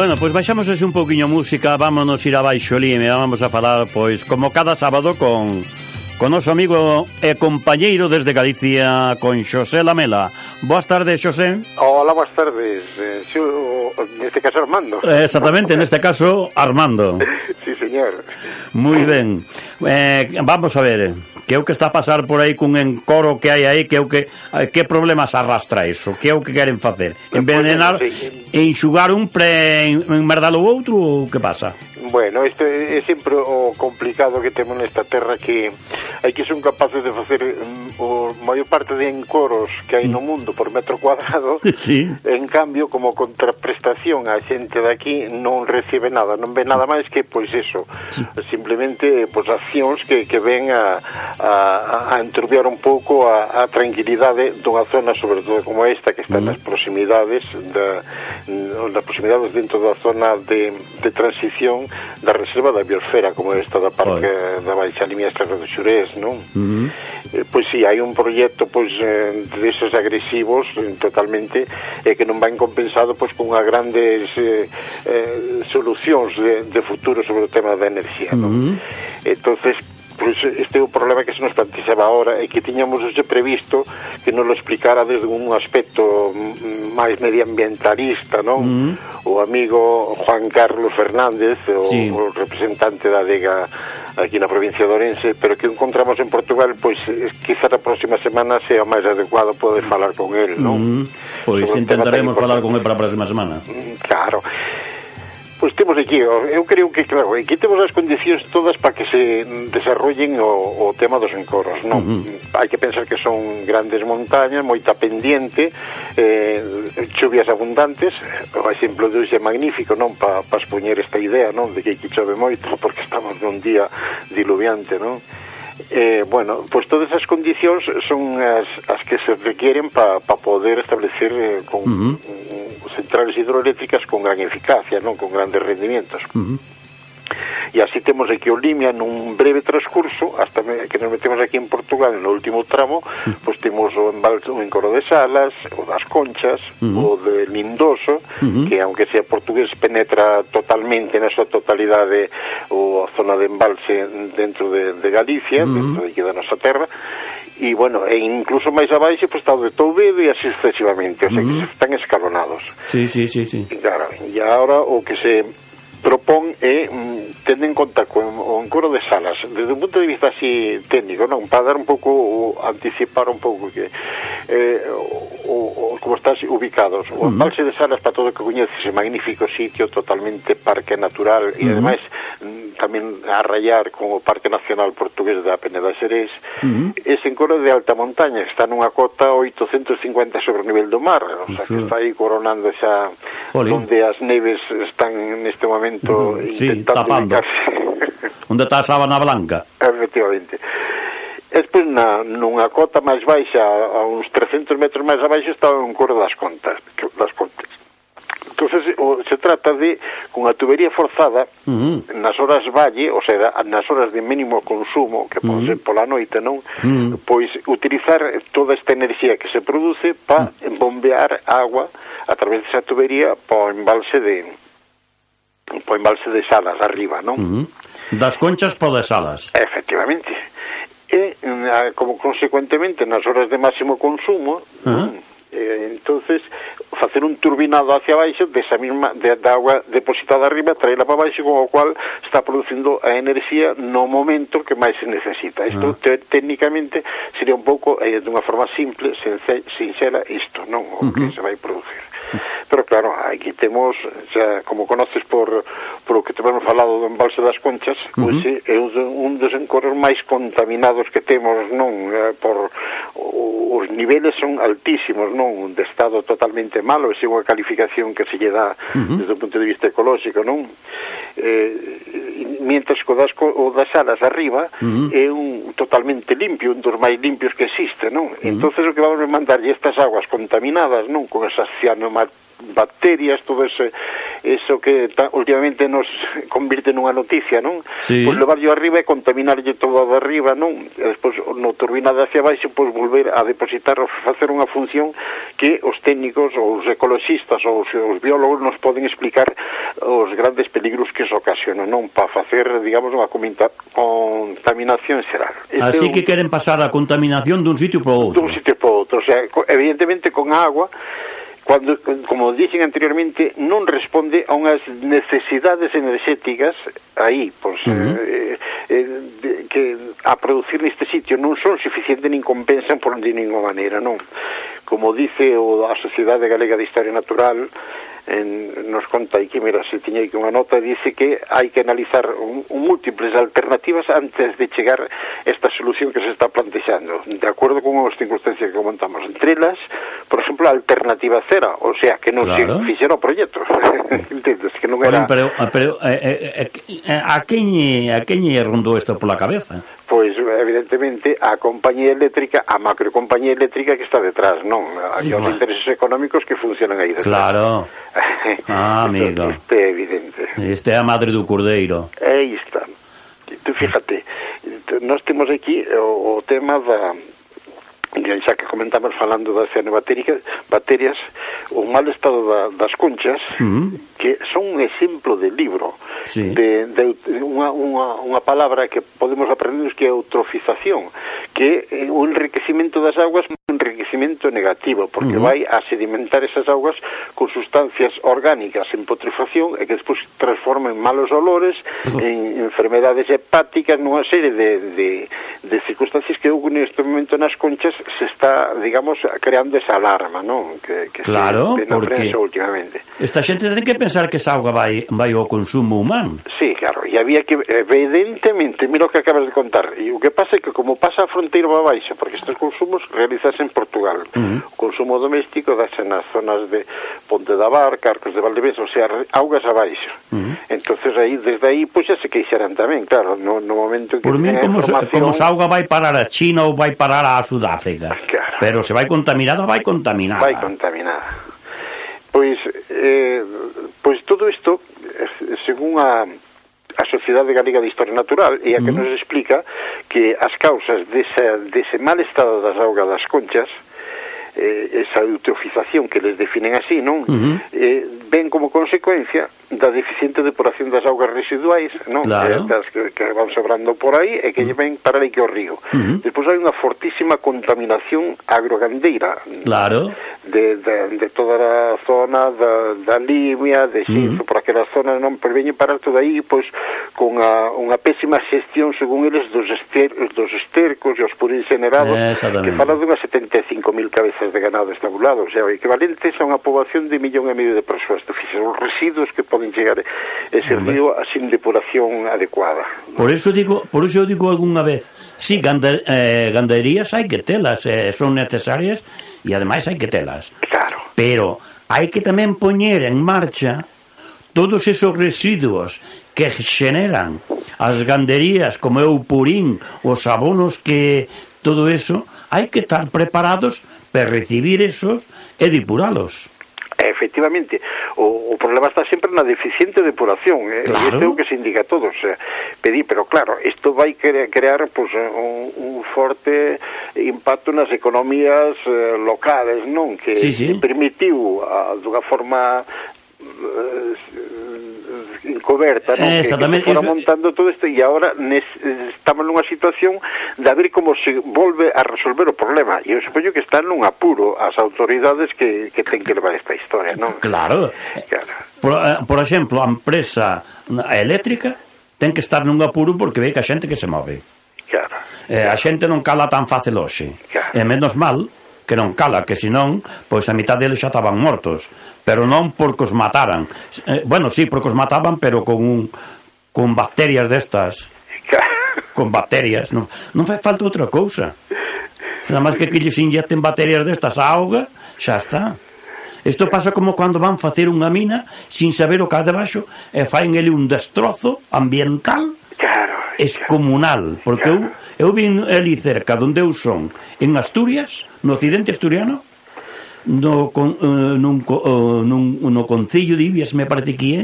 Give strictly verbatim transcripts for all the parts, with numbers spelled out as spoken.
Bueno, pois baixamos así un pouquiño música, vámonos ir abaixo ali e vamos a falar, pois, como cada sábado con con noso amigo e compañeiro desde Galicia, con Xosé Lamela. Boas tardes, Xosé. Hola, boas tardes. Eh, xo, neste caso Armando. Exactamente, neste caso Armando. Sí, señor. Moi ben. Eh, vamos a ver, que é o que está a pasar por aí cun encoro que hai aí, que é o que que problemas arrastra iso? Que é o que queren facer? Envenenar, pues, sí. enxugar un pre enmerdar o outro ou que pasa? Bueno, isto é sempre o complicado que temos nesta terra, que hai que son capaces de facer o maior parte de encoros que hai no mundo por metro cuadrado. Sí. En cambio, como contraprestación, a xente daqui non recibe nada, non ve nada máis que, pois, eso, sí. Simplemente, pois, accións que, que ven a, a, a enturbiar un pouco a, a tranquilidade dunha zona, sobre todo como esta, que está mm. nas proximidades da, nas proximidades dentro da zona de, de transición da reserva da biosfera, como esta da Parque Oy. da Baixa Limiestra do Xurés, non? Uh-huh. Eh, pois si, sí, hai un proxecto pois eh, deses agresivos eh, totalmente, e eh, que non van compensado pois con as grandes eh, eh, solucións de, de futuro sobre o tema da enerxía, uh-huh. non? Entonces, pois este é o problema que se nos plantexaba ahora, e que tiñamos hoxe previsto que nos lo explicara desde un aspecto máis medioambientalista, non? Mm. O amigo Juan Carlos Fernández, o, sí. o representante da adega aquí na provincia de Ourense, pero que encontramos en Portugal, pois quizá a próxima semana sea máis adecuado poder falar con él, non? Mm. Pois intentaremos falar con él para a próxima semana. Claro. Pois temos aquí, eu creo que, claro, aquí temos as condicións todas para que se desarrollen o, o tema dos encoros, non? Uh-huh. Hai que pensar que son grandes montañas, moita pendiente, eh, chuvias abundantes. O exemplo de hoxe é magnífico, non? Para pa expoñer esta idea, non? De que aquí chove moito, porque estamos nun día diluviante, non? Eh, bueno, pois todas as condicións son as, as que se requieren para pa poder establecer eh, con uh-huh. centrales hidroeléctricas con gran eficacia, non, con grandes rendimientos. Uh-huh. E así temos aquí o Limia nun breve transcurso, hasta que nos metemos aquí en Portugal no último tramo, uh-huh. pois temos o embalse, o encoro de Salas, o das Conchas, uh-huh. o de Lindoso, uh-huh. que aunque sea portugués penetra totalmente na súa totalidade o a zona de embalse dentro de, de Galicia, uh-huh. dentro de aquí da nosa terra. E, bueno, e incluso máis abaixo pois está o de Touvedo e así sucesivamente, o sea, uh-huh. que están escalonados. Sí, sí, sí, sí. E, claro, e agora o que se propón é mm, tendo en conta con o encoro de Salas desde un punto de vista así técnico, non, para dar un pouco o, anticipar un pouco que eh, o, o, como estás ubicados o uh-huh. embalse de Salas, para todo o que coñeces, é magnífico sitio, totalmente parque natural e uh-huh. ademais mm, tamén a rayar con o Parque Nacional Portugués da Peneda Xerés. Uh-huh. Ese encoro de alta montaña está nunha cota oitocentos cincuenta sobre o nivel do mar, o sea, uh-huh. que está aí coronando xa Jolín. Onde as neves están neste momento uh-huh. sí, tapando onde está a sábana blanca. Efectivamente. Despois, na, nunha cota máis baixa, a uns trescentos metros máis abaixo, está o encoro das Contas, das Contas. Entonces, o, se trata de, con a tubería forzada, uh-huh. nas horas valle, o sea, nas horas de mínimo consumo, que pode uh-huh. ser pola noite, non? Uh-huh. Pois, utilizar toda esta enerxía que se produce para uh-huh. bombear agua a través desa tubería para o embalse de para o embalse de Salas, arriba, non? Uh-huh. Das Conchas para de Salas. Efectivamente. E, como consecuentemente, nas horas de máximo consumo, uh-huh. eh, entonces facer un turbinado hacia baixo desa mesma de, de agua depositada arriba, traela para baixo, con o cual está producindo a enerxía no momento que máis se necesita. Isto uh-huh. te, técnicamente sería un pouco eh, dunha forma simple, sinxela, isto, non? O uh-huh. que se vai producir. Pero claro, aquí temos, xa, como conoces por, por o que te hemos falado do embalse das Conchas, uh-huh. pois é un dos encoros máis contaminados que temos, non? Por os niveles son altísimos, non? De estado totalmente malo, é unha calificación que se lle dá uh-huh. desde o punto de vista ecolóxico, non? Eh, mientras que o das, o das Salas arriba uh-huh. é un totalmente limpio, un dos máis limpios que existe, non? Uh-huh. Entonces o que vamos a mandarlle estas aguas contaminadas, non? Con esas cianomas bacterias, todo ese, eso que ta, últimamente nos convirte nunha noticia, non? Sí. Pois levarlo arriba e contaminarlle todo de arriba, non? E despois no turbinado hacia baixo, pois volver a depositar ou facer unha función que os técnicos ou os ecologistas ou os, os biólogos nos poden explicar os grandes peligros que se ocasionan, non para facer, digamos, unha contaminación xeral. Así que queren pasar a contaminación dun sitio para outro. Dun sitio para outro, o sea, evidentemente con agua, cuando, como dixen anteriormente, non responde a unhas necesidades enerxéticas aí, pois, uh -huh. eh, eh, de, que a producir neste sitio non son suficientes nin compensan por de ninguna maneira, non? Como dice o, a Sociedade Galega de Historia Natural, en, nos conta aí que, mira, se tiña aí unha nota, dice que hai que analizar un, un múltiples alternativas antes de chegar esta solución que se está plantexando, de acordo con as circunstancias que comentamos. Entre elas, por exemplo, a alternativa cera, o sea, que non claro. se fixera o proxecto. Entendes? Que non era... Pero, pero eh, eh, a quen a quen rondou isto pola cabeza? Pois, evidentemente, a compañía eléctrica, a macrocompañía eléctrica que está detrás, non? Hai os intereses económicos que funcionan aí detrás. Claro. Ah, amigo. Isto é evidente. Isto é a madre do cordeiro. Aí está. Tú fíjate, nós temos aquí o, o tema da... xa que comentamos falando das cianobacterias, bacterias, o mal estado da, das conchas, uh -huh. que son un exemplo de libro, sí. de, de unha, unha, unha palabra que podemos aprender que é eutrofización, que é o enriquecimento das augas, un enriquecimento negativo, porque uh -huh. vai a sedimentar esas augas con sustancias orgánicas en putrefacción e que despois transforman malos olores, uh -huh. en enfermedades hepáticas, nunha serie de, de, de circunstancias que neste momento nas conchas se está, digamos, creando esa alarma, non? Que, que claro, se, porque últimamente. Esta xente ten que pensar que esa auga vai, vai ao consumo humano. Sí, claro, e había que, evidentemente, mira o que acabas de contar, e o que pasa é que como pasa a fronteira para baixo, porque estes consumos realizase en Portugal, uh -huh. o consumo doméstico dase nas zonas de Ponte da Barca, Arcos de Valdevez, o sea, augas abaixo. Uh -huh. Entonces aí, desde aí, pois pues, xa se queixarán tamén, claro, no, no momento en que por mí, como, información... como esa auga vai parar a China ou vai parar a Sudáfrica. Claro. Pero se vai contaminada, vai contaminada. Vai contaminada. Pois, eh, pois todo isto, según a, a Sociedade Galega de Historia Natural, é a que mm. nos explica que as causas dese, dese mal estado das augas das conchas, eh, esa eutrofización que les definen así, non? Uh -huh. eh, ven como consecuencia da deficiente depuración das augas residuais, non? Claro. Eh, das que, que van sobrando por aí e que uh -huh. ven para aí que o río. Uh -huh. Despois hai unha fortísima contaminación agrogandeira. Claro. De, de, de toda a zona da, da Limia, de Xinzo, uh -huh. por aquelas zonas, non? Pero veñen parar todo aí, pois, con a, unha pésima xestión, según eles, dos, ester, dos estercos e os purín generados, eh, que falan dunhas setenta e cinco mil cabezas de ganado estabulado, o sea, o equivalente a unha poboación de millón e medio de persoas. Os residuos que poden chegar ese río sin depuración adecuada. Por eso digo, por eso digo algunha vez, sí, ganda, eh, ganderías hai que telas, eh, son necesarias e ademais hai que telas. Claro. Pero hai que tamén poñer en marcha todos esos residuos que xeneran as ganderías, como é o purín, os abonos, que todo eso, hai que estar preparados para recibir esos e depuralos. Efectivamente, o, o problema está sempre na deficiente depuración, eh? Claro. Isto é o que se indica a todos, eh? Pedí, pero claro, isto vai cre crear pues, un, un forte impacto nas economías eh, locales, non? Que, sí, sí. que permitiu, a, dunha forma eh, encoberta, non? Que, que fora montando todo isto, e agora nes, estamos nunha situación de a ver como se volve a resolver o problema, e eu supoño que están nun apuro as autoridades que, que ten que levar esta historia, non? Claro, claro. Por, por exemplo, a empresa eléctrica ten que estar nun apuro porque ve que a xente que se move, claro. Eh, a xente non cala tan fácil hoxe, claro. E menos mal que non cala, que senón, pois a mitad deles xa estaban mortos, pero non porque os mataran. Eh, bueno, sí, porque os mataban, pero con un, con bacterias destas. Con bacterias, non, non fai falta outra cousa. Nada máis que que lles inyecten bacterias destas á auga, xa está. Isto pasa como cando van facer unha mina sin saber o que há debaixo e faen ele un destrozo ambiental. Claro, excomunal, porque claro. eu, eu vin ali cerca donde eu son, en Asturias, no occidente asturiano, no, con, uh, nun, uh, nun, no concello de Ibias, me parece que é.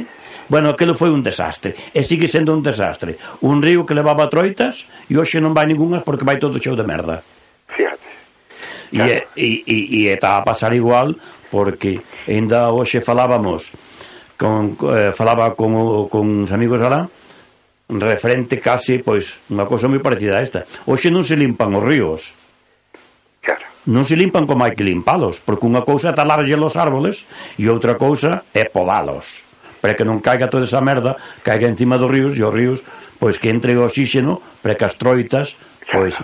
Bueno, aquilo foi un desastre, e sigue sendo un desastre. Un río que levaba troitas e hoxe non vai ningunhas porque vai todo cheo de merda. Fíjate. Claro. E, e, e está a pasar igual, porque ainda hoxe falábamos con, eh, falaba con, con os amigos alá referente casi, pois, unha cosa moi parecida a esta. Hoxe non se limpan os ríos. Claro. Non se limpan como hai que limpalos, porque unha cousa é talarlle os árboles e outra cousa é podalos, para que non caiga toda esa merda, caiga encima dos ríos, e os ríos, pois, que entre o oxígeno para que as troitas, pois,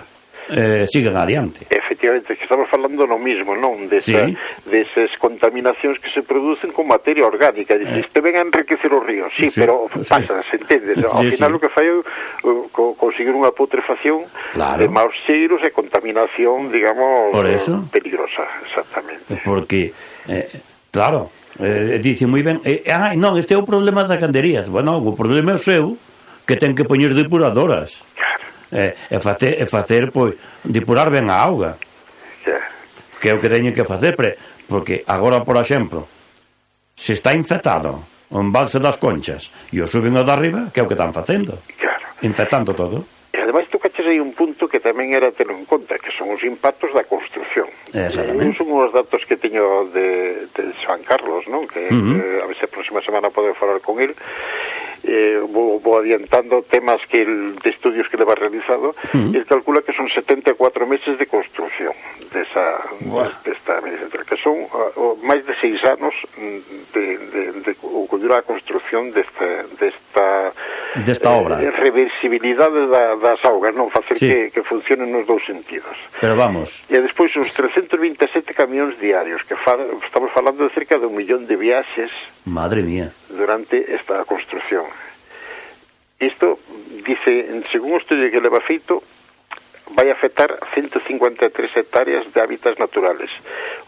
eh, sigan adiante. Efectivamente, que estamos falando no mismo, non? Desa, sí. Desas contaminacións que se producen con materia orgánica. Dice, este ven a enriquecer os ríos, sí, sí, pero pasa, sí. Se entende. Sí, ao final sí. O que fai é uh, conseguir unha putrefacción claro. De maus cheiros e contaminación, digamos, peligrosa, exactamente. Porque, eh, claro, eh, dice moi ben, eh, ah, non, este é o problema das ganderías. Bueno, o problema é o seu, que ten que poñer depuradoras. E, e, facer, e facer, pois, depurar ben a auga. Yeah. Que é o que teñen que facer, pre, porque agora, por exemplo, se está infectado o embalse das Conchas e o suben o de arriba, que é o que están facendo? Claro. Infectando todo. E ademais tu caches aí un punto que tamén era ter en conta, que son os impactos da construcción. Exactamente. Son os datos que teño de, de Juan Carlos, non? Que uh-huh. eh, a ver se a próxima semana podo falar con ele. Eh, vou, vou adiantando temas que el, de estudios que leva realizado. Uh-huh. Ele calcula que son setenta e catro meses de construción desa, desta medicina, que son uh, máis de seis anos de, de, de, de o que dura a construción desta desta, desta obra. Eh, reversibilidade da, das augas, non facer sí. que, que funcionen nos dous sentidos. Pero vamos. E despois os trescentos vinte e sete camións diarios, que fa, estamos falando de cerca de un millón de viaxes. Madre mía. Durante esta construción. Isto, dice, según o estudio que leva feito, vai afectar ciento cincuenta e tres hectáreas de hábitats naturales,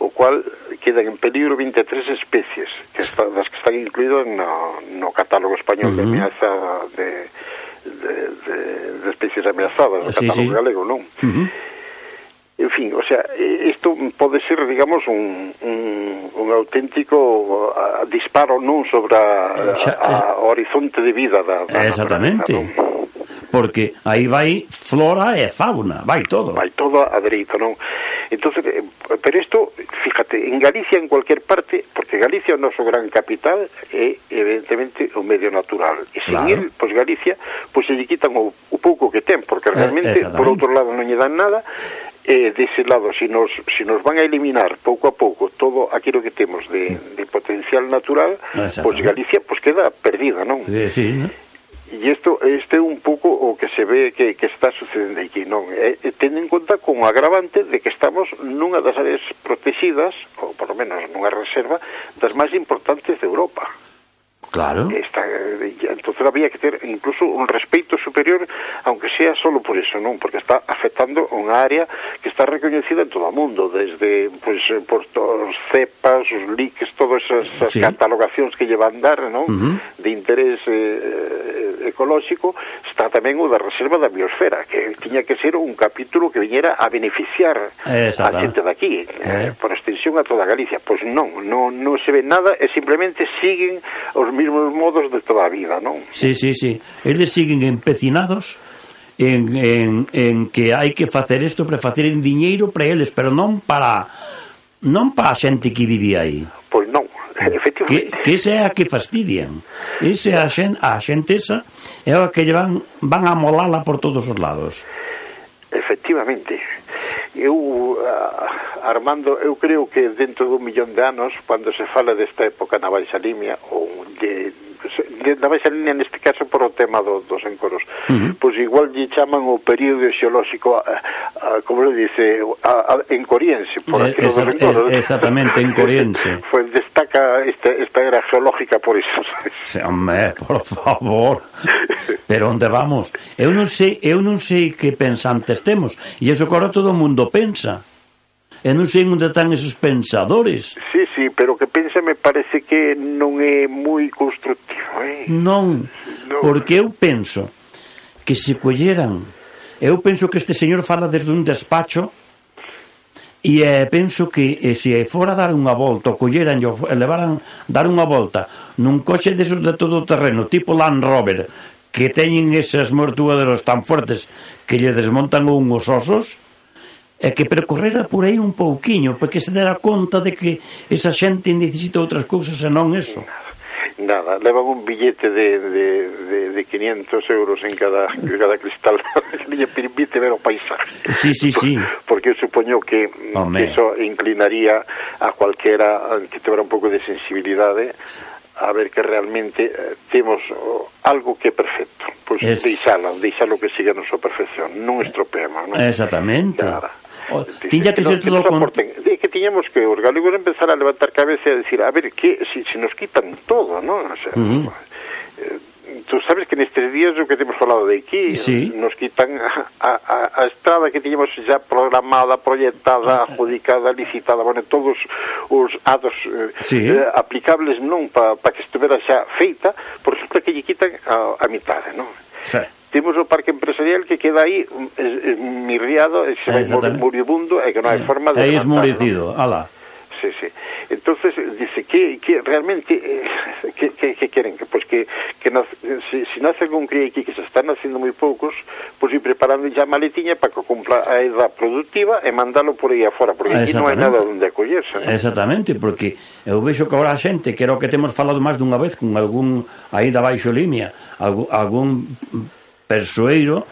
o cual quedan en peligro vinte e tres especies, que está, das que están incluídas no, no catálogo español uh-huh. de ameaza de, de, de, de especies ameazadas, no sí, catálogo sí. galego, non? Uh-huh. En fin, o sea, isto pode ser, digamos, un, un, un auténtico uh, disparo non sobre a, a, a horizonte de vida da, da exactamente, non? Porque aí vai flora e fauna, vai todo. Vai todo a dereito, non? Entonces, pero isto, fíjate, en Galicia, en cualquier parte, porque Galicia é o noso gran capital, é, evidentemente, o medio natural. E sin claro. Él, pois Galicia, pois se lle quitan o, o pouco que ten, porque realmente, eh, por outro lado, non lle dan nada. E dese lado, se nos, si nos van a eliminar pouco a pouco todo aquilo que temos de, de potencial natural, pois Galicia pues queda perdida, non? Sí, sí, ¿no? E isto este é un pouco o que se ve que, que está sucedendo aquí, non? E, tendo en conta como agravante de que estamos nunha das áreas protegidas, ou por lo menos nunha reserva, das máis importantes de Europa. Claro. Está, entonces había que ter incluso un respeito superior, aunque sea solo por eso, non? Porque está afectando unha área que está recoñecida en todo o mundo, desde, pues, por os cepas, os liques, todas esas sí. catalogacións que llevan dar, non? Uh-huh. De interés eh, ecolóxico, está tamén o da reserva da biosfera, que tiña que ser un capítulo que viñera a beneficiar a xente daqui, eh. eh, por extensión a toda Galicia. Pois pues non, non, non se ve nada, e simplemente siguen os mismos modos de toda a vida, non? Sí, sí, sí. Eles siguen empecinados en, en, en que hai que facer isto para facer en diñeiro para eles, pero non para non para a xente que vivía aí. Pois non, efectivamente. Que, que esa é a que fastidian. Esa a xente, a xente esa é a que van, van a molala por todos os lados. Efectivamente. Eu, uh, Armando, eu creo que dentro dun millón de anos, cando se fala desta época na Baixa Limia, ou de, de, na Baixa Limia neste caso por o tema do, dos encoros, uh-huh. pois igual lle chaman o período xeolóxico, a, a, como le dice, a, a, encoriense, por eh, aquilo esa, dos encoros. Eh, exactamente, encoriense. Pues destaca esta, esta era geológica por iso. Sí, hombre, por favor. Pero onde vamos? Eu non sei, eu non sei que pensantes temos, e iso que ahora todo o mundo pensa. E non sei onde están esos pensadores. Sí, sí, pero que pensa me parece que non é moi constructivo, eh? Non, non, porque eu penso que se colleran, eu penso que este señor fala desde un despacho, e eh, penso que eh, se fora dar unha volta, o colleran e levaran dar unha volta nun coche desos de todo terreno, tipo Land Rover, que teñen esas mortuaderos tan fuertes que lle desmontan unhos osos, é que percorrera por aí un pouquiño, porque se dera conta de que esa xente necesita outras cousas e non eso. Nada, levan un billete de, de, de, de quinientos euros en cada, en cada cristal que lle permite ver o paisaje. Sí, sí, sí. Porque eu supoño que, que eso inclinaría a cualquera que tevera un pouco de sensibilidade a ver que realmente eh, temos oh, algo que é perfecto. Pois pues es... deixalo, deixalo que siga a nosa perfección, non estropeemos, non? Exactamente. Claro. O, tiña que ser todo con... de que tiñamos que os galegos empezar a levantar cabeza e a decir, a ver, que si, si nos quitan todo, non? O sea, uh-huh. eh, tú sabes que nestes días o que temos falado de aquí, sí. nos quitan a, a, a estrada que tiñamos xa programada, proyectada, adjudicada, licitada, bueno, todos os ados eh, sí. eh, aplicables non para pa que estuvera xa feita, por resulta que lle quitan a, a mitade, non? Sí. Temos o parque empresarial que queda aí mirriado, e se vai moribundo e que non hai forma de levantar. É esmorecido, ¿no? Ala. Sí, sí. Entonces dice que, que realmente eh, que, que, que queren que pues que, que nace, si, si nace algún cría aquí que se están haciendo moi poucos, pues ir preparando ya maletiña para que cumpla a edad productiva e mandalo por aí afora, porque aquí non hai nada onde acollerse, ¿no? Exactamente, porque eu vexo que agora a xente, que era o que temos falado máis dunha vez con algún aí da baixo limia, algún, algún persoeiro,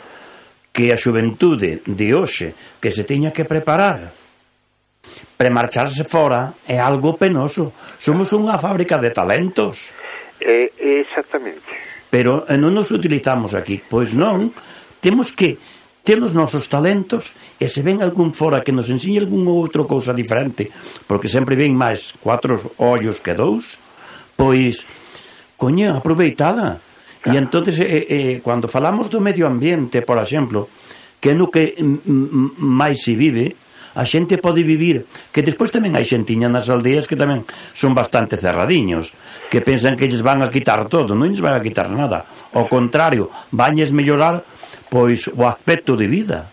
que a xuventude de hoxe que se tiña que preparar premarcharse fora é algo penoso. Somos unha fábrica de talentos. Eh, exactamente. Pero non nos utilizamos aquí. Pois non, temos que ter os nosos talentos e se ven algún fora que nos enseñe algún outro cousa diferente, porque sempre ven máis cuatro ollos que dous, pois, coño, aproveitada. E entonces, eh, eh, cando falamos do medio ambiente, por exemplo, que é no que m- máis se vive, a xente pode vivir, que despois tamén hai xentiña nas aldeas que tamén son bastante cerradiños, que pensan que lles van a quitar todo, non lles van a quitar nada, ao contrario, vanlles mellorar pois o aspecto de vida,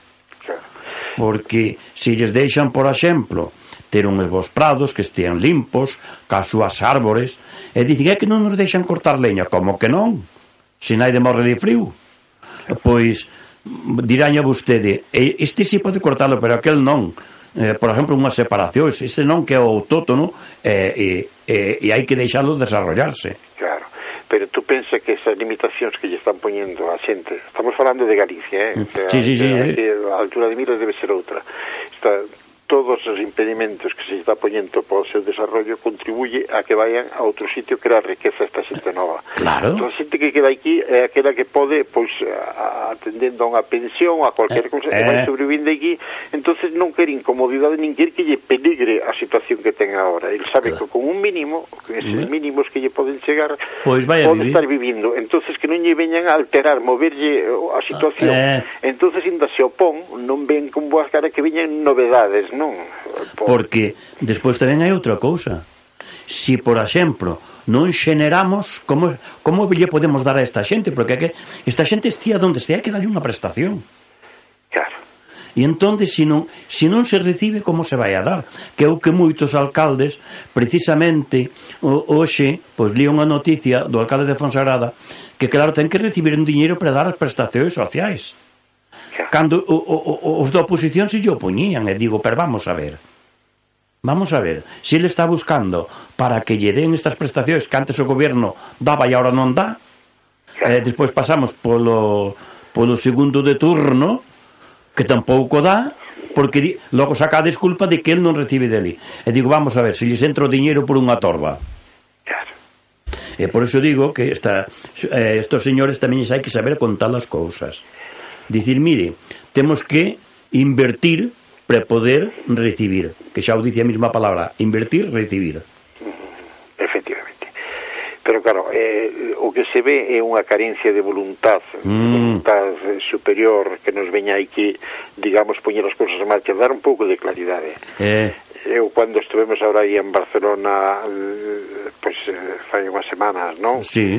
porque se lles deixan, por exemplo, ter uns bons prados que estean limpos, cas súas árbores, e dicen, é que non nos deixan cortar leña, como que non? Se nai de morre de frío, pois diráña vostede, este si pode cortalo, pero aquel non. Eh, por exemplo, unhas separacións, este non, que é o autótono, e, e, e hai que deixalo desarrollarse. Claro, pero tú pensa que esas limitacións que lle están poñendo a xente, estamos falando de Galicia, eh? O sea, sí, sí, sí, que, eh. a altura de miras debe ser outra. Está... todos os impedimentos que se está poñendo para o seu desarrollo contribuye a que vayan a outro sitio que era riqueza esta xente nova. Claro. Entón, a xente que queda aquí é aquela que pode, pois, atendendo a unha pensión, a cualquier eh, cousa, que eh. vai sobrevivindo aquí, entonces non quer incomodidade, nin quer que lle peligre a situación que ten agora. Ele sabe claro. que con un mínimo, con esos mm. mínimos que lle poden chegar, pois pode vivir. estar vivindo. Entonces que non lle veñan a alterar, moverlle a situación. Eh. Entonces, ainda se opón, non ven con boas caras que veñan novedades, non? Porque despois tamén hai outra cousa. Si, por exemplo, non xeneramos, como, como lle podemos dar a esta xente? Porque que esta xente estea onde estea, hai que darlle unha prestación. Claro. E entón, se non, se non se recibe, como se vai a dar? Que é o que moitos alcaldes, precisamente, hoxe, pois li unha noticia do alcalde de Fonsagrada, que claro, ten que recibir un diñeiro para dar as prestacións sociais. Cando o, o, os da oposición se lle opoñían, e digo, pero vamos a ver vamos a ver, se ele está buscando para que lle den estas prestacións que antes o goberno daba e agora non dá, e despois pasamos polo, polo segundo de turno que tampouco dá, porque di, logo saca a desculpa de que ele non recibe dele, e digo, vamos a ver, se lles entra o diñeiro por unha torba. E por iso digo que esta, eh, estos señores tamén hai que saber contar as cousas. Dicir, mire, temos que invertir para poder recibir, que xa o dice a mesma palabra, invertir, recibir. Efectivamente. Pero claro, eh, o que se ve é unha carencia de voluntad, mm. voluntad superior que nos veña aí que, digamos, poñer as cousas en marcha, dar un pouco de claridade. Eh. Eu, cando estivemos ahora aí en Barcelona, pois, pues, fai unhas semanas, non? Sí.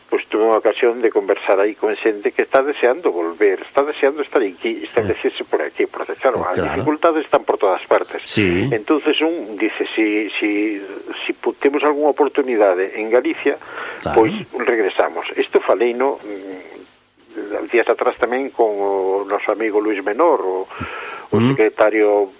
Pois tuve unha ocasión de conversar aí con xente que está deseando volver, está deseando estar aquí, establecerse por aquí, porque claro, claro, as dificultades están por todas partes. Sí. Entonces un dice, si, si, si temos algunha oportunidade en Galicia, claro. pois regresamos. Isto falei, no, días atrás tamén con o noso amigo Luis Menor, o, o mm. secretario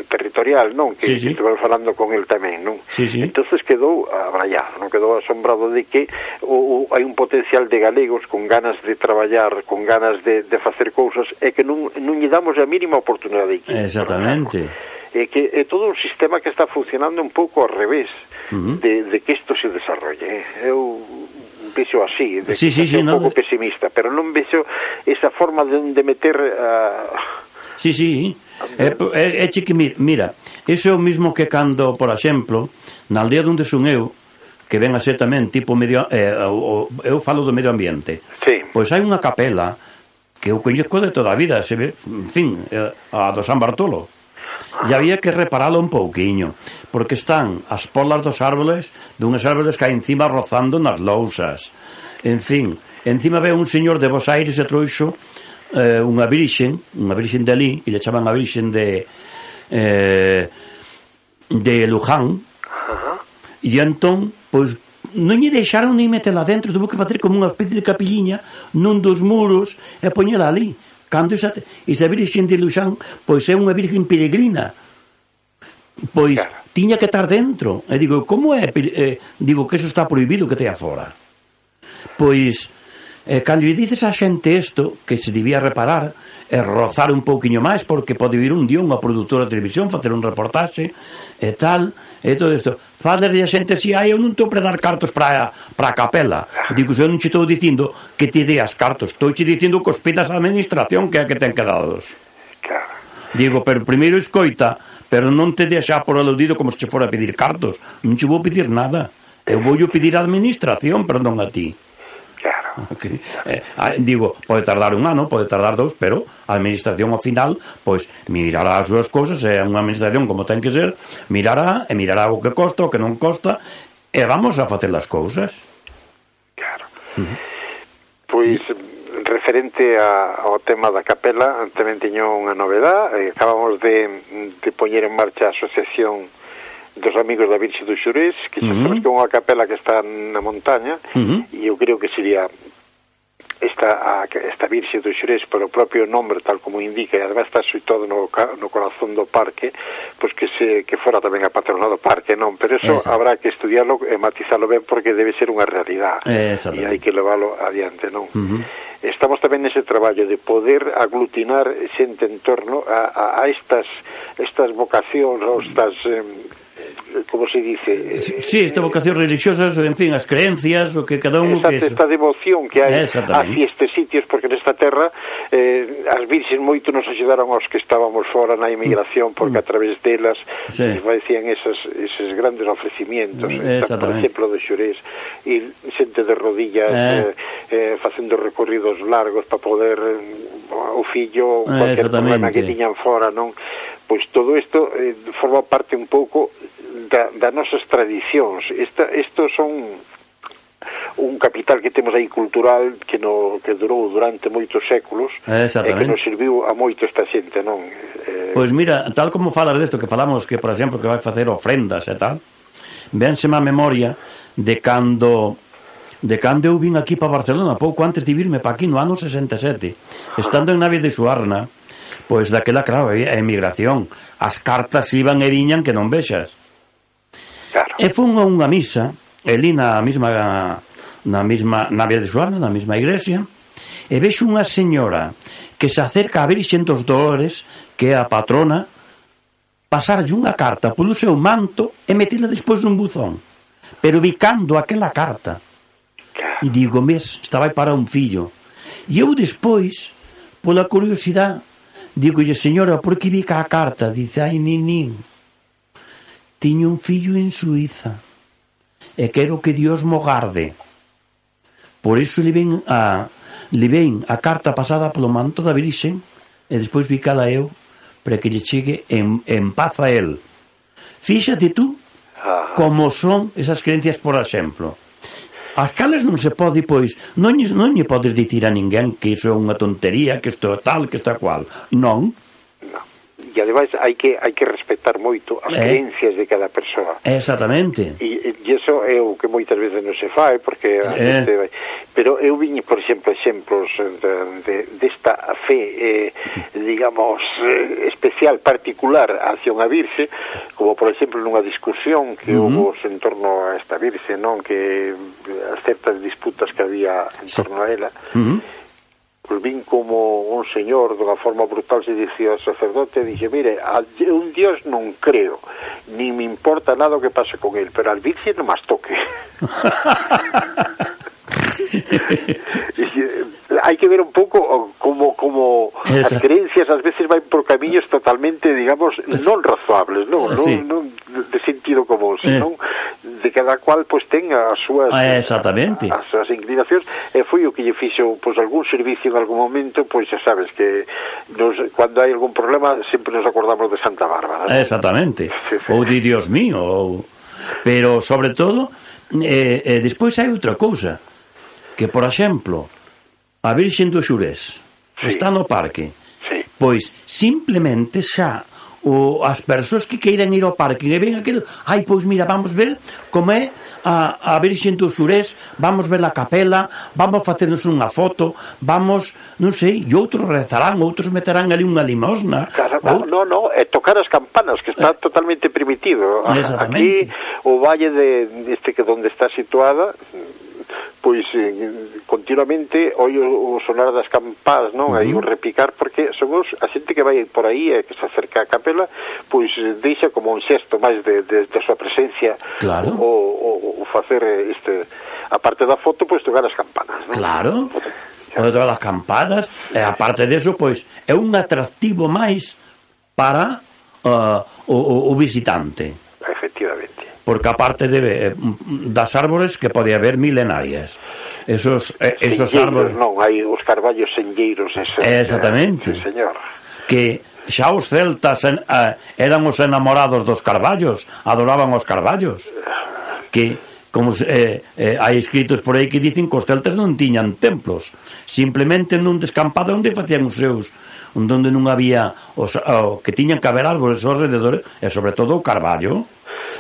territorial, non? Que sí, sí. estuve falando con el tamén, non? Sí, sí. Entonces quedou abrallado, non? Quedou asombrado de que o, o, hai un potencial de galegos con ganas de traballar, con ganas de, de facer cousas, e que non, non lle damos a mínima oportunidade aquí. Exactamente. E que é todo un sistema que está funcionando un pouco ao revés uh-huh. de, de que isto se desarrolle. Eu vexo así, de sí, que sí, sí, un no, pouco pesimista, pero non vexo esa forma de, de meter a... Uh, Sí, sí, é, é, é que mira, iso é o mismo que cando, por exemplo, na aldea onde son eu, que ven a ser tamén tipo medio, eh, o, eu falo do medio ambiente, sí. Pois hai unha capela que eu coñezco de toda a vida, se ve, en fin, a do San Bartolo, e había que reparalo un pouquiño, porque están as polas dos árboles, dunhas árboles que hai encima rozando nas lousas, en fin, encima ve un señor de Bos Aires e trouxo Eh, unha virxen, unha virxen de ali, e le chaman a virxen de eh, de Luján, uh-huh. E entón, pois non lle deixaron nin metela dentro, tuvo que facer como unha especie de capilliña nun dos muros e poñela ali. Cando esa, esa virxen de Luján, pois é unha virxen peregrina, pois claro. Tiña que estar dentro. E digo, como é? Eh, digo que eso está prohibido que tea fora. Pois E cando lle dices a xente isto, que se debía reparar e rozar un pouquiño máis, porque pode vir un día unha produtora de televisión facer un reportaxe e tal, e todo isto falerlle a xente así, ai, eu non estou para dar cartos para a capela. Digo, eu non che estou dicindo que te deas cartos, estou che dicindo que os pidas a administración, que é a que ten que dados. Digo, pero primeiro escoita, pero non te deixa por aludido como se che fora a pedir cartos, non che vou pedir nada, eu vou pedir a administración, perdón, a ti. Okay. Eh, digo, pode tardar un ano, pode tardar dous, pero a administración ao final pois mirará as súas cousas, é unha administración como ten que ser, mirará e mirará o que costa, o que non costa, e vamos a facer as cousas. Claro. Uh-huh. Pois referente a, ao tema da capela, tamén teño unha novedade, acabamos de, de poñer en marcha a asociación dos amigos da Virxe do Xurés, que xa sabes que é unha capela que está na montaña, uh-huh. E eu creo que sería esta, a, esta Virxe do Xurés, polo propio nombre, tal como indica, e además está situado no, no corazón do parque, pois que se que fora tamén a patrona do parque, non? Pero eso Exacto. Habrá que estudiarlo e matizarlo ben, porque debe ser unha realidade, e hai que leválo adiante, non? Uh-huh. Estamos tamén nese traballo de poder aglutinar xente en torno a, a, a estas estas vocacións, ou estas... Eh, como se dice, sí, esta vocación religiosa, en fin, as creencias, o que cada un exacto, que esta devoción que hai hacia estes sitios, porque nesta terra eh, as virxes moito nos axudaron aos que estábamos fora na emigración, porque a través delas sí. Facían esos, esos grandes ofrecimientos, por exemplo do Xurés, e xente de rodillas eh. Eh, eh, facendo recorridos largos para poder o fillo, cualquier problema que tiñan fora, non? Pois todo isto eh, forma parte un pouco da, das nosas tradicións. Esta, estos son un capital que temos aí cultural que no que durou durante moitos séculos e que nos serviu a moito esta xente, non? Eh... Pois mira, tal como falas desto que falamos que, por exemplo, que vai facer ofrendas e tal, vénseme a memoria de cando de cando eu vin aquí para Barcelona pouco antes de virme para aquí no ano sesenta e sete, estando en Navia de Suarna. Pois daquela, claro, a emigración, as cartas iban e viñan que non vexas. Claro. E fun a unha misa, elí na mesma na mesma Navia de Suarna, na mesma iglesia, e vexo unha señora que se acerca a Virxen dos Dolores, que é a patrona, pasarlle unha carta polo seu manto e metela despois nun buzón, pero bicando aquela carta. Claro. Digo, mes, estaba para un fillo. E eu despois, pola curiosidade, digolle, señora, por que bica a carta? Dice, ai, ninín, tiño un fillo en Suiza e quero que Dios mo garde. Por iso le ven a, le ven a carta pasada polo manto da Virxen e despois bicala eu para que lle chegue en, en paz a él. Fíxate tú como son esas creencias, por exemplo. As cales non se pode, pois, non, non lle podes dicir a ninguén que iso é unha tontería, que isto é tal, que isto é cual. Non. No. e ademais hai que hai que respetar moito as eh. creencias de cada persoa. Exactamente. E, e iso é o que moitas veces non se fai, porque a eh. xente vai... Pero eu viñe, por exemplo, exemplos de, de, desta fe, eh, digamos, eh, especial, particular hacia unha virxe, como, por exemplo, nunha discusión que uh -huh. houve en torno a esta virxe, non? Que as certas disputas que había en torno a ela, uh -huh. pues vin como un señor dunha forma brutal se dicía ao sacerdote, dixe, mire, a un dios non creo, ni me importa nada o que pase con él, pero al virxe non mas toque. Hai que ver un pouco como como as creencias ás veces van por camiños totalmente, digamos, non razoables, non, sí. non, non de sentido común, senón eh. de cada cual pois pues, ten as súas ah, exactamente. as súas inclinacións, e foi o que lle fixo pois pues, algún servicio en algún momento, pois pues, xa sabes que nos, cando hai algún problema sempre nos acordamos de Santa Bárbara, ¿no? Exactamente, sí, sí. Ou de Dios mío, ou... pero sobre todo eh, eh, despois hai outra cousa, que, por exemplo, a Virxen do Xurés sí. está no parque, sí. pois simplemente xa o, as persoas que queiran ir ao parque e ven aquilo, ai, pois mira, vamos ver como é a, a Virxen do Xurés, vamos ver a capela, vamos facernos unha foto, vamos, non sei, e outros rezarán, outros meterán ali unha limosna. Claro, ou... No, no, é tocar as campanas, que está eh... totalmente permitido. Aquí, o valle de este que donde está situada, pois eh, continuamente oi o, o sonar das campás, non? Uh -huh. Aí o repicar, porque son os, a xente que vai por aí e que se acerca á capela, pois deixa como un xesto máis de, de, de súa presencia, claro. o, o, o facer este, a parte da foto, pois tocar as campanas, non? Claro, o tocar as campanas, e a parte deso, pois é un atractivo máis para uh, o, o visitante. Efectivamente. Porque aparte de das árbores que pode haber milenarias, esos eh, esos árboles, non, hai os carballos senlleiros, esos, exactamente, eh, sí, señor, que xa os celtas en, eh, eran os enamorados dos carballos, adoraban os carballos, que como eh, eh, hai escritos por aí que dicen que os celtas non tiñan templos, simplemente nun descampado onde facían os seus, onde non había os, oh, que tiñan que haber árboles ao rededor, e sobre todo o carballo.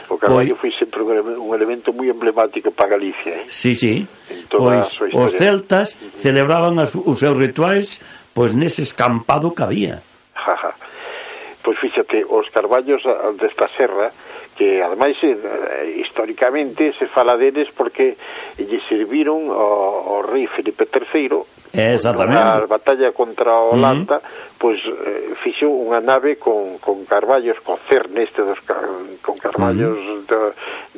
O carballo foi sempre un elemento moi emblemático para Galicia, eh? Sí, sí. Pois os celtas celebraban as, os seus rituais pois nese escampado que había. Jaja. Pois fíxate, os carballos desta serra, que ademais históricamente se fala deles porque lle serviron ao, ao rei Felipe terceiro, exactamente, na batalla contra a Holanda, uh -huh. pois eh, fixo unha nave con, con carballos, con cerne este dos, con carballos uh -huh. de,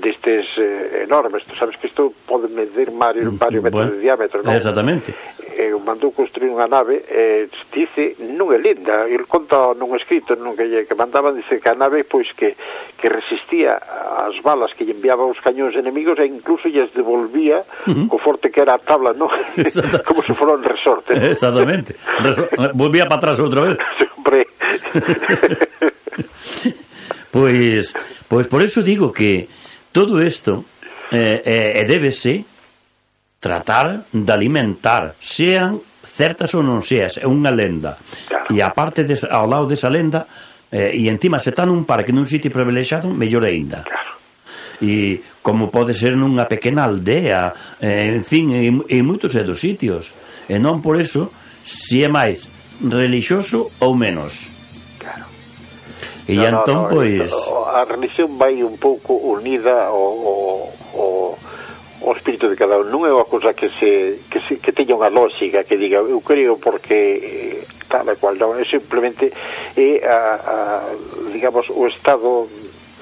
destes eh, enormes. Tu sabes que isto pode medir varios, varios metros bueno, de diámetro, non? Exactamente. E mandou construir unha nave, e dice, non é lenda, el conta nun escrito non que, que mandaban, dice que a nave pois que, que resistía as balas que lle enviaban os cañóns enemigos e incluso lles devolvía uh -huh. co forte que era a tabla, non? Como se fora un resorte, ¿no? Exactamente. Resor volvía para atrás outra vez. Hombre. Pois, pois por eso digo que todo isto eh, eh, débese tratar de alimentar, sean certas ou non seas, é unha lenda. Claro. E aparte de, ao lado desa lenda, eh, e encima se está nun parque, nun sitio privilexiado, mellor aínda. Claro. E como pode ser nunha pequena aldea, eh, en fin, en, en moitos dos sitios. E non por eso se é máis relixioso ou menos. Claro. E no, entón, no, no, pois... A religión vai un pouco unida ao... ao o espírito de cada un, non é unha cousa que se que, se, que teña unha lógica que diga eu creo porque tal e cual, non, é simplemente é a, a, digamos o estado,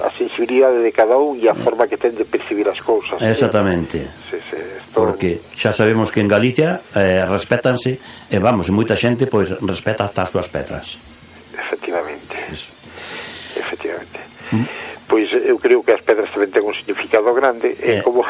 a sensibilidade de cada un e a forma que ten de percibir as cousas. Exactamente. Sí, sí, esto... Porque xa sabemos que en Galicia eh, respétanse, e vamos, e moita xente pois respeta hasta as súas pedras. Efectivamente. Eso. Efectivamente. ¿Mm? Pois eu creo que as pedras tamén ten un significado grande, e eh. como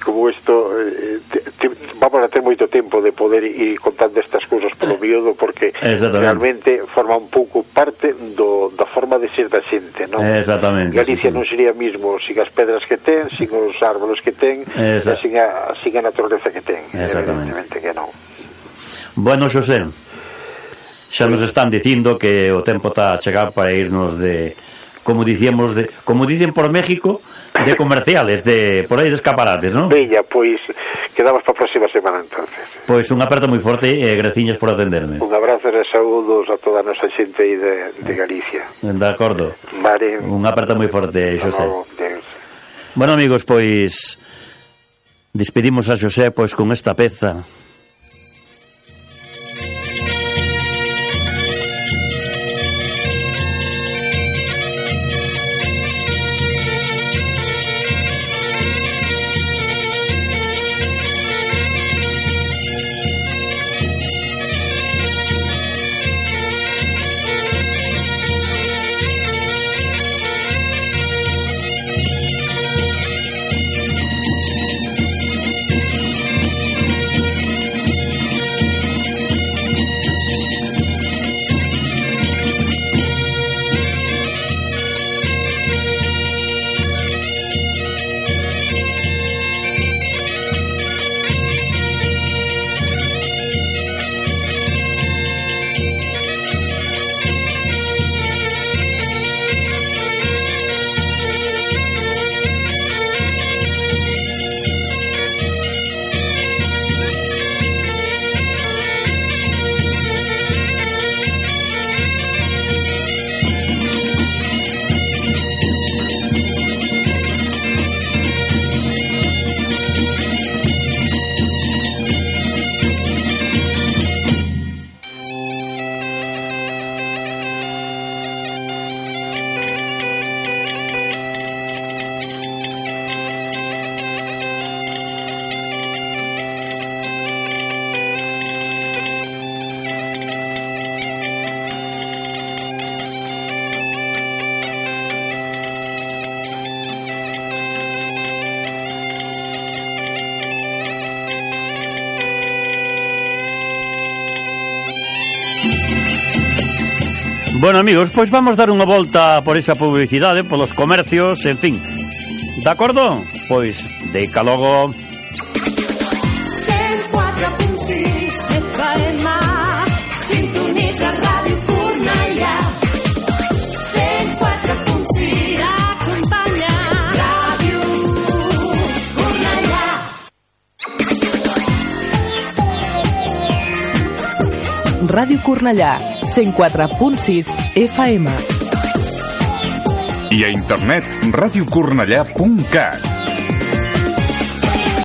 como isto eh, te, te, vamos a ter moito tempo de poder ir contando estas cousas polo miúdo, porque realmente forma un pouco parte do, da forma de ser da xente, non? Exactamente. Galicia sí, sí. non sería mismo sin as pedras que ten, sin os árboles que ten, e sin a, sin a naturaleza que ten. Exactamente. Evidentemente que non. Bueno, Xosé, xa nos están dicindo que o tempo está a chegar para irnos de, como dicíamos, de, como dicen por México, de comerciales, de por aí de escaparates, non? Bella, pois quedamos para a próxima semana entonces. Pois un aperto moi forte e graciñas por atenderme. Un abrazo e saúdos a toda a nosa xente aí de, de Galicia. De acordo. Vale. Un aperto moi forte, Xosé. No, bueno, amigos, pois despedimos a Xosé pois con esta peza. Bueno, amigos, pois vamos dar unha volta por esa publicidade, polos comercios, en fin. De acordo? Pois, deica logo. cent quatre punt sis F M, sintonitza Ràdio Cornellà. cent quatre punt sis acompanya Ràdio Cornellà. Ràdio Cornellà, cent quatre punt sis F M. I a internet, radiocornellà punt cat.